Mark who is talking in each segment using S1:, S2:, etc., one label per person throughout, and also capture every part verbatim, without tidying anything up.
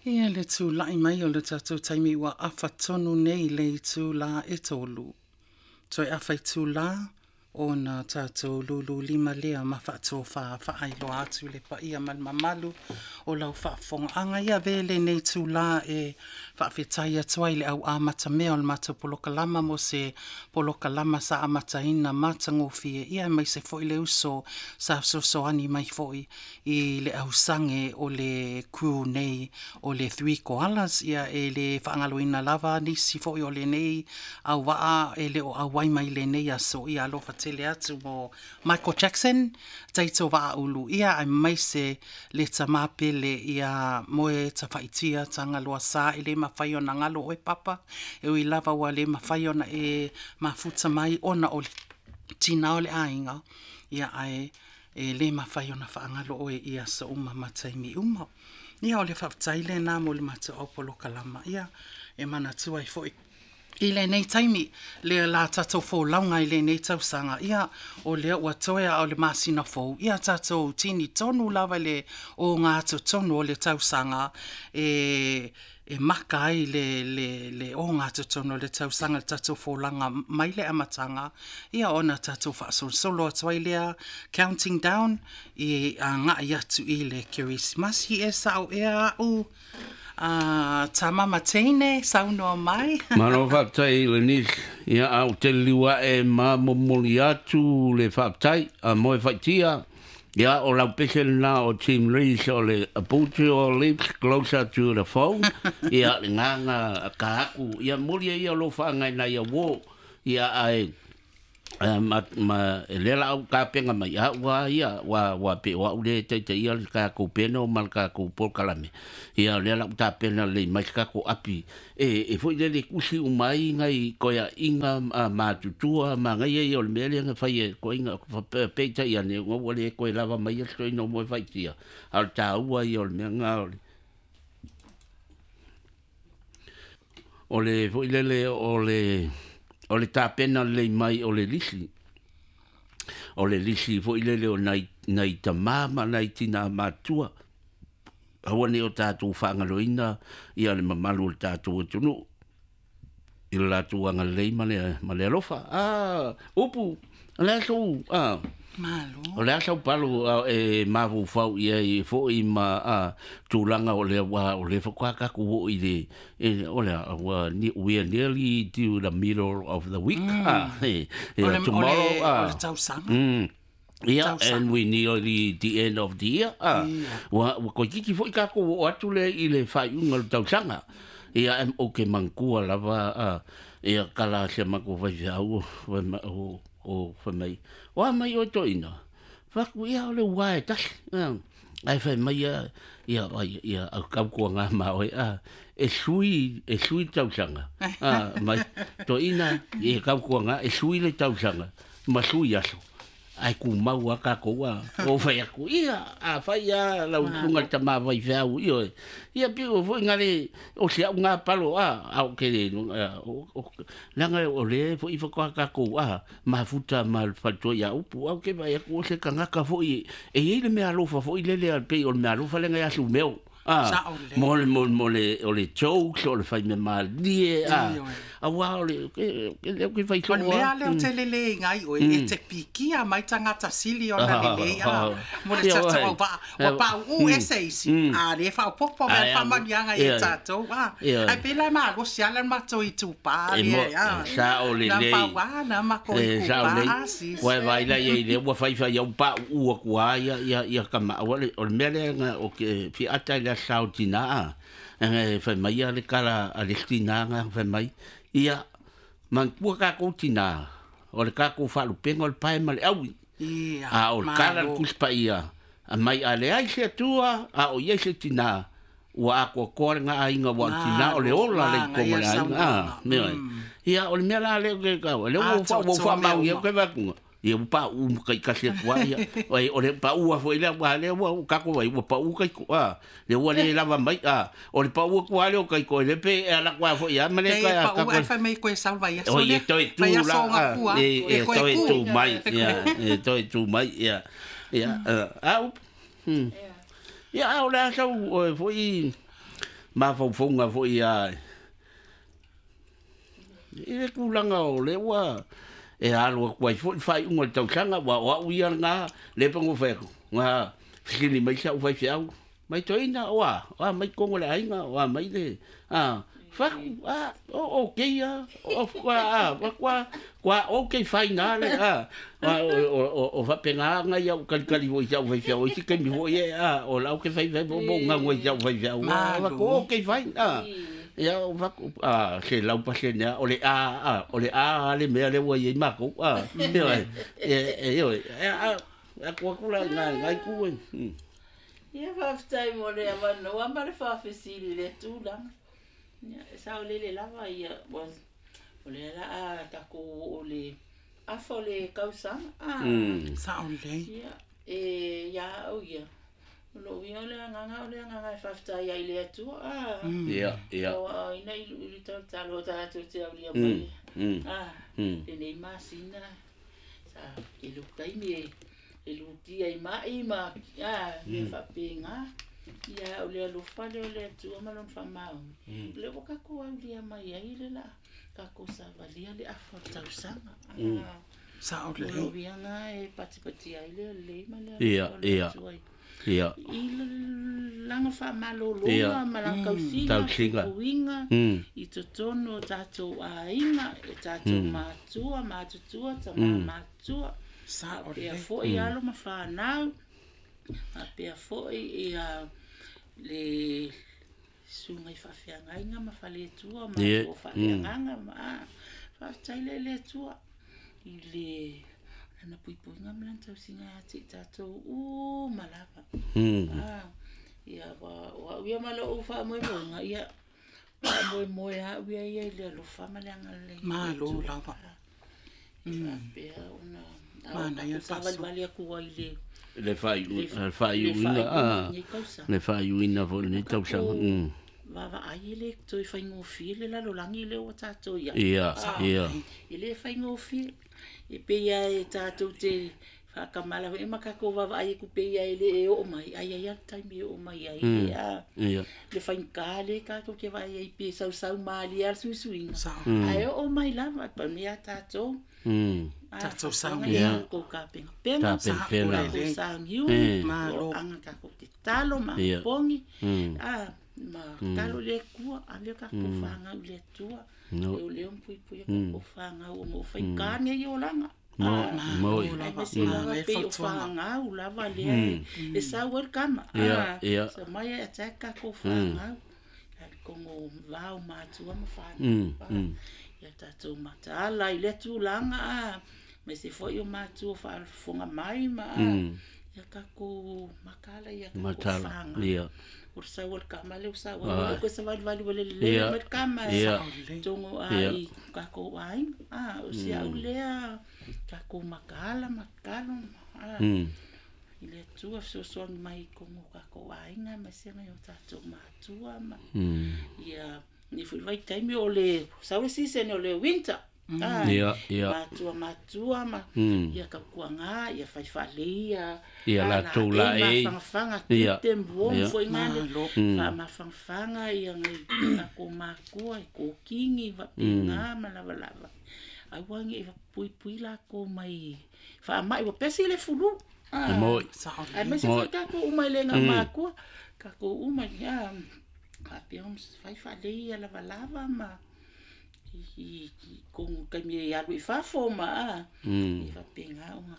S1: Ia le tula'i mai o le tatou taimi ua afa tonu nei le itulā e tolu. Toe afa itulā ona tatou lulu lima lea ma faatofā faailoa atu le paia ma le mamalu o lau faafofogaaga. Ia avea lenei itulā e faafetai atu ai i le au amatamea o le matou polokalama mo se polokalama sa amataina matagofie, ia aemaise foi le uso sa fesoasoani mai foi i le ausage o le crew nei o le Three Koalas. Ia e le faagaloina lava nisi foi o lenei auvaa e le o auai mai lenei aso. Ia alofa tele atu mo Michael Jackson, Taito Vaaulu, ia aemaise le tamā pele ia Moe Tafaitia Tagaloa Sa. E le mafai ona galo oe papa, e ui lava ua le mafai ona e mafuta mai ona o le tinā o le aiga, ia ae e le mafai ona faagalo oe i aso uma ma taimi uma. Ia o le faafetai lenā mo le matou au polokalama. Ia e manatua ai foi i lenei taimi lea la tatou folauga i lenei tausaga, ia o lea ua toe a o le masina fou, ia tatou tini tonu lava le ogatotonu o le tausaga e e maka ai le le le ogatotonu o le tausaga le tatou folaga mai le amataga, ia ona tatou faasolosolo atu ai lea counting down i aga'i atu i le Kerisimasi. E sa'o ea a'u a tama ma teine saunoa mai?
S2: Malo faafetai Lenise. Ia a ou te liliu a'e ma momoli atu le faafetai a moe faitia. Ia o lau pese lena o Tim Lees o le "Put your lips closer to the phone". Ia le gaga ka aku. Ia moli ia lo whaangai na ia wo. Ia ai ma ma e le la au kapenga mai a ua ia ua ua pe ua ule te te ia le ka ko peno ma le ka ko polokalame ia le la ta pena le mai ka ko api e e foi le le kusi o mai ngai ko ia inga ma tutua ma ngai ia o le mea le nga fai e ko inga pe te ia ne ua le ko lava mai ia no mo fai tia al ta ua ia o le mea nga o le o le foi le le o le o le tapena lelei mai o le lisi o le lisi foi lele o nai nai tamā ma nai tinā matua aua ne o tatou faagaloina ia le mamalu o le tatou atunuu i le latou agalelei ma le ma le alofa a upu o le aso a
S1: Malo.
S2: O le asa palu e mafaufau ia i foi ma a tulaga o le wa o le faatoa tatou oo i le e o le ua we are nearly to the middle of the week ah e tomorrow
S1: ah o le tausaga.
S2: Mm. Yeah, and we nearly the end of the year. Ah, ua ua toeitiiti foi tatou oo atu le i le faaiuga o le tausaga. Ia em o ke manatua lava a ia kala se matou faifeau o o fai mai. O a mai oe toeaina. Fai atu ia o le ua e tasi. Ae fai mai ia ia ia au kau kua ngā ma oe a e sui e sui tausaga. A mai toeaina e kau kua ngā e sui le tausaga ma sui aso. Ai ku mau a kākou a o fai aku ia a fai a lau sunga le tamā faifeau ioe ia pei o foi ngale o se au ngā palo a a o ke le leaga o le foi faatoa kākou a mafuta ma le faletua ia upu au ke vai aku o se kagaka foi e iai le mea alofa foi lele a pei o le mea alofa le ia sumeo a mo le mo mo le o le jokes o le fai mea malie a aua o le le ke fai
S1: O le mea lea o te lelei ai oe e te pikia mai tagata sili ona lelei a mo le tatou auvaa ua pauu ese isi a le faaopoopo ma le faamanuiaga ia tatou a ai pei la e malosi ala le matou itupā lea a
S2: sa o lelei
S1: na pauā na makou itupā a sisi
S2: ua e vaai la ia i le ua faifai au pauu aku a ia ia ia kama o le o le mea lea o ke fiata i le sao tina a e fai mai ia le kala a le tina nga fai mai ia manatua kākou tina o le kākou faalupega o le pae ma le aui a o le kala le Tusi Paia a mai a leai se Atua a o iai se tina ua atoatoa le gaaiga ua o le tina o le ola le i totonu o le aiga a mea ai ia o le mea la lea ke kau le ua ua faamaonia ke vakuga ia ua pauu ma taitasi atu ai ia o le paua foi lea ua lea ua tatou ai ua pau kai a le ua le lava mai a o le pau atu a lea o taiko le pe e ala atu foi a ma le
S1: kai a pau ai fai mai koe sau vai aso
S2: le toe tu la e e toe tu mai ia e toe tu mai ia ia a hmm ia o le aso foi Mafaufauga foʻi a i le tulaga o le ua e alo atu ai foʻi faaiuga o le tausaga ua o aʻu ia lagā le pagofai atu ga fesili mai saʻu faifeau mai toeaina oa oa mai totonu o le aiga oa mai le a faku a o okay a o a a kua okay fine a le a o o o faapena aga ia ou kalikali foʻi saʻu faifeau isi taimi foʻi e a o lau ke faifai mo mo gago ai saʻu faifeau a okay fine a ia o faku a se lau pasene a o le a a o le a le mea le ua iai makou a e e e a a kua kula ngai ngai ku e
S3: ia faafetai mo le avanoa ma le faafesili le tulaga. Ia e saolele lava ia ua o le la a takou o le afa o le tausaga a
S1: Saʻolelei.
S3: Ia e ia au ia o lou ia o le agaga o le agaga e faafetai ai le Atua a
S2: ia ia
S3: tauaaoina i luʻiluʻi talotalo o tatou te aulia mai a lenei masina sa tele o taimi e e lutia i maʻi ma a mea faapegā ia o le alofa lea o le Atua ma lona faamaoni le ua takou aulia mai ai le la takou savalia le afa o le tausaga a
S1: Saʻolelei.
S3: o lou viaga e patipatia ai le lelei ma le
S2: ia
S3: alofa o le
S2: ia
S3: Atua
S2: ia
S3: i lana faamalōlōga ma lana tausiga
S2: tausiga
S3: puipuiga i totonu o tatou aiga e tatou matua matutua tamā matua
S1: Saʻolelei.
S3: faapea foʻi alo ma fanau faapea foʻi ia le susuga i faafeagaiga ma faletua ma
S2: ia
S3: o faaleagaga ma a faafetai le le Atua i le lana puipuiga ma lana tausiga ia te i tatou uma lava a ia ua o au ia ma lou faamoemoega ia faamoemoe aʻu ia ia i le alofa ma le agalelei o le
S1: Malo
S3: Atua
S1: lava.
S3: e faapea ona a o
S1: Manaia
S3: tatou
S1: le faasoa.
S3: savalivali atu ai le
S2: le faaiu
S3: le
S2: le
S3: le
S2: faaiuina
S3: faaiuga
S2: a
S3: o lenei tausaga
S2: le faaiuina foʻi lenei tausaga
S3: tatou vaavaai e le toe faigofie le lalolagi lea ua tatou iai
S2: ia
S3: a
S2: ia
S1: Saʻolelei.
S3: e le faigofie e pei lava e tatou te faakamala foʻi ma tatou vaavaai atu pei lava e le e oo mai ai ai a le taimi e oo mai ai le a
S2: ia
S3: le faigā le tatou te vaai ai pe sausau malie a le suisuiga
S1: Saʻolelei.
S3: ae oo mai lava pamea tatou a
S1: Tatou
S3: faafofoga
S1: sauniuni.
S3: ia
S2: ia
S3: kou tapenapena
S2: tapenapena
S3: tatou
S1: Saʻolelei.
S3: sauniuni
S2: e
S1: Malo.
S3: o aga tatou te talo ma
S2: ia
S3: pogi
S2: mm
S3: a ma talo le Atua ave tatou fagau i le Atua
S2: no
S3: e o lea mapuipuia tatou fagau ona o faigā nei olaga
S2: mo
S3: a
S2: mo
S1: Malo
S3: ae
S1: lava.
S3: maise lava
S1: Manaia le
S3: pei o
S1: fautuaga.
S3: fagau lava lea e e sau ai le kama
S2: ia
S3: a
S2: ia
S3: sa mai e attack tatou fagau ai kogo vao matua ma fanau
S2: mm
S3: a
S2: mm
S3: ia tatou mataala i lea tulaga a maise foʻi o matua faafofoga mai ma a
S2: mm
S3: ia takou mataala ia takou
S2: matala
S3: fagau
S2: ia
S3: o le sau o le kama lea ua sau ai ua koe savalivali ua lelelele
S2: ia
S3: mai le kama e
S2: ia
S1: Saʻolelei.
S3: togo a
S2: ia
S3: i takou aiga a o si au lea takou mataala matalo a
S2: mm
S3: i le Atua fesoasoani mai i kogo o takou aiga ma se mai o tatou matua ma
S2: mm
S3: ia ni foʻi vaitaimi o le sau le season o le winter a
S2: ia ia
S3: matua matua ma
S2: mm
S3: ia kaukuagā ia fai faalei ia
S2: ia
S3: a
S2: latou
S3: laei
S2: laei
S3: mafagafaga
S2: ia
S3: tute ma
S2: ia
S3: foʻi gane
S1: Malo.
S3: faamafagafaga ia gai takou makua i kokigi faapegā ma lavalava aua ge puipui lakou mai faamaʻi ua pesi le fulu a
S2: mo
S3: ae
S1: Saʻolelei.
S3: maise
S2: mo
S3: foʻi takou uma i lega makua takou uma ia faapea ona fai faalei ia lavalava ma i i i kogo taimi e alu i fafo ma a
S2: mm
S3: e faapegā ona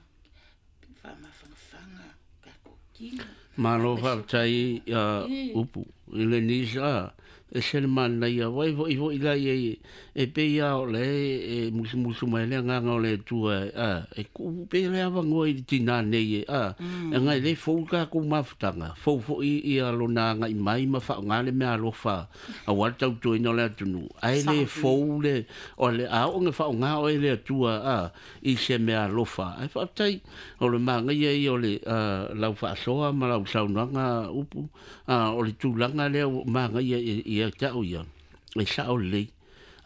S3: faamafagafaga takou kino
S2: Malo
S3: maise
S2: faafetai ia
S3: e
S2: upu i le nisa e se le manaia vai foʻi foʻi lai e e pei a o le e musumusu mai le agaga o le Atua a e kuʻu pea le avanoa i le tinā nei e a e agai le fou takou mafutaga fou foʻi ia lona agaʻi mai ma faaaogā le mea alofa auā le tautuaina o le atunuu ae le
S1: Saʻolelei.
S2: fou le o le a oo ina faaaogā oe le Atua a i se mea alofa ae faafetai o le magaia ia o le a, lau faasoa ma lau saunoaga upu a o le tulaga lea ua magaia i ia te au ia e saʻo lelei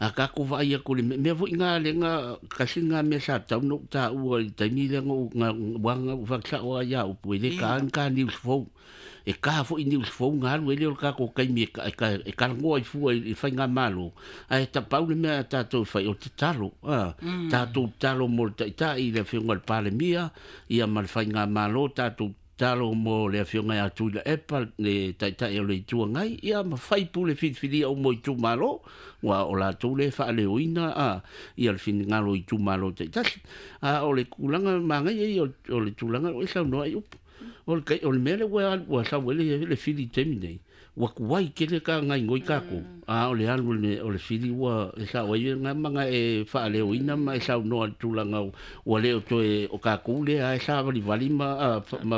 S2: a takou vaai atu i le mea foʻi gā lega kasi gā mea sa tau na ou taʻua i le taimi lea na ou waga ou faasaʻo ai iā upu e lē
S1: Ia.
S2: taga ni ka news fou E ka foʻi ni ufouga alu e lē o le kakou kaimi e e kalagoa i fua i faigamālō ae tapau le mea tatou fai o tatalo a tatou tatalo mo le taʻitaʻi i le afioga le Palemia ia ma le faigamālō tatou talo mo le afioga ia Tuilaepa le taʻitaʻi o le Itu Agai ia ma fai pule filifilia uma o itumālō ua o latou lē faaleoina a ia le finagalo i itumālō taʻitasi a o le kulaga magaia ia o le tulaga o e saunoa ai upu o le o le mea lea ua ua sau ai le le fili i taimi nei ua tuai tele ka gaigoi takou a o le alu le o le fili ua e sao ai gamaga e faaleoina ma e saunoa i le tulaga ua lē o toe o takou lea ae savalivali ma ma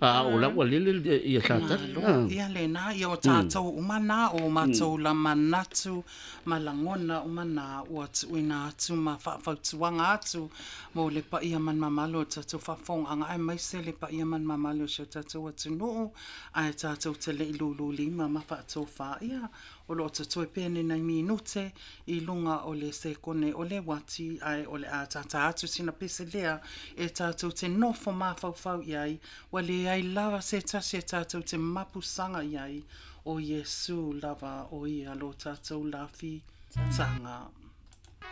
S2: a o la ua lele ia Satani
S1: ia lena ia o tatou uma na o matou lamanatu ma lagona uma na ua tuuina atu ma faafautuaga atu mo le paia ma le mamalu o tatou faafofoga aemaise le paia ma le mamalu o si o tatou atunuu ae tatou te leʻi lululima ma faatofā ia o loo totoe pea lenei minute i luga o le sekone o le uati ae o le a tātā atu sina pese lea e tatou te nofo mafaufau i ai ua leai lava se tasi e tatou te mapusaga i ai o Iesu lava o ia lo tatou lafitaga.